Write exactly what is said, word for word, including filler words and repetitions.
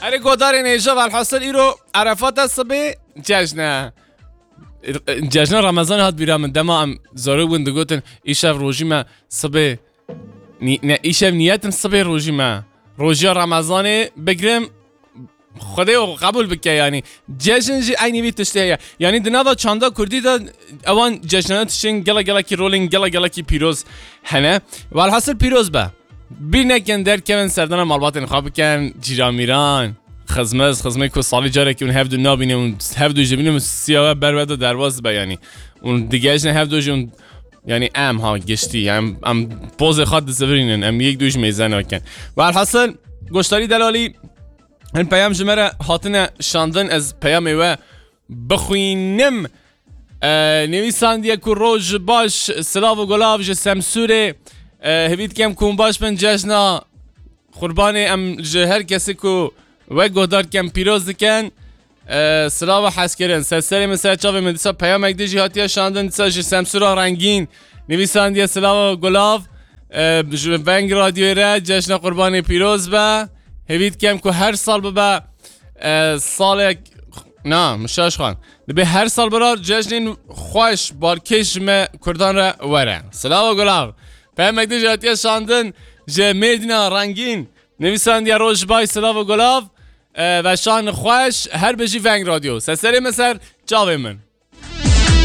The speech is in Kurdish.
Erê godarên hêja, velhasil îro Erefat e, sibê cejn e. Cejna Remezanê hat bîra min, dema em zarok bûn digotin, îşev rojî me, sibê, nî-, ne, îşev niyetim sibê rojî me. Rojiya Remezanê bigrim, Xwedê o qebûl bike yanî. Cejn jî eynî vî tiştê heye. Yanî di nava çanda kurdî de ewan cejnane tiştên gela gelekî rolên gela gelekî pîroz hene. Welhasil pîroz be. Bîr nekin derkevin serdana malbatên xwe bikin, cîramîran, xizmiz, xizmê ku salî carekî hûn hevdu nabînin, hûn hevdu jî bînin, siya we ber we de derbas dibe yanî. Hûn digehişne hevdu jî hûn, yanî em ha giştî, em, em pozê xwe dizivirînin, em yek du jî mêze nakin. Welhasil, goşdarî delalî, hin peyam ji me re hatine şandin, ez peyamê we bixwînim. E, nivîsandiye ku roj baş, silav û gulav ji Semsûrê. E, hêvî dikem ku hûn baş bin, cejna Qurbanê em ji her kesî ku we guhdar dikem pîroz dikin. E, silav û hezkirin. Ser serê min, ser çavê min, dîsa peyamek din jî hatiye şandin, dîsa ji Semsûra Rengîn. Nivîsandiye silav û gulav. E, ji Veng Radyoyê re cejna Qurbanê pîroz be. Hêvî dikem ku her sal bibe, e, salek, na, min şaş xwend. Dibê her sal birar cejnên xweş, balkêş ji me Kurdan re were. Silav û gulav. Peyamek din jî hatiye şandin ji Mêrdîna Rengîn. Nivîsandiye roj baş, silav û gulav. E, veşan xweş, her bijî Veng Radyo. Ser serê min, ser çavê min.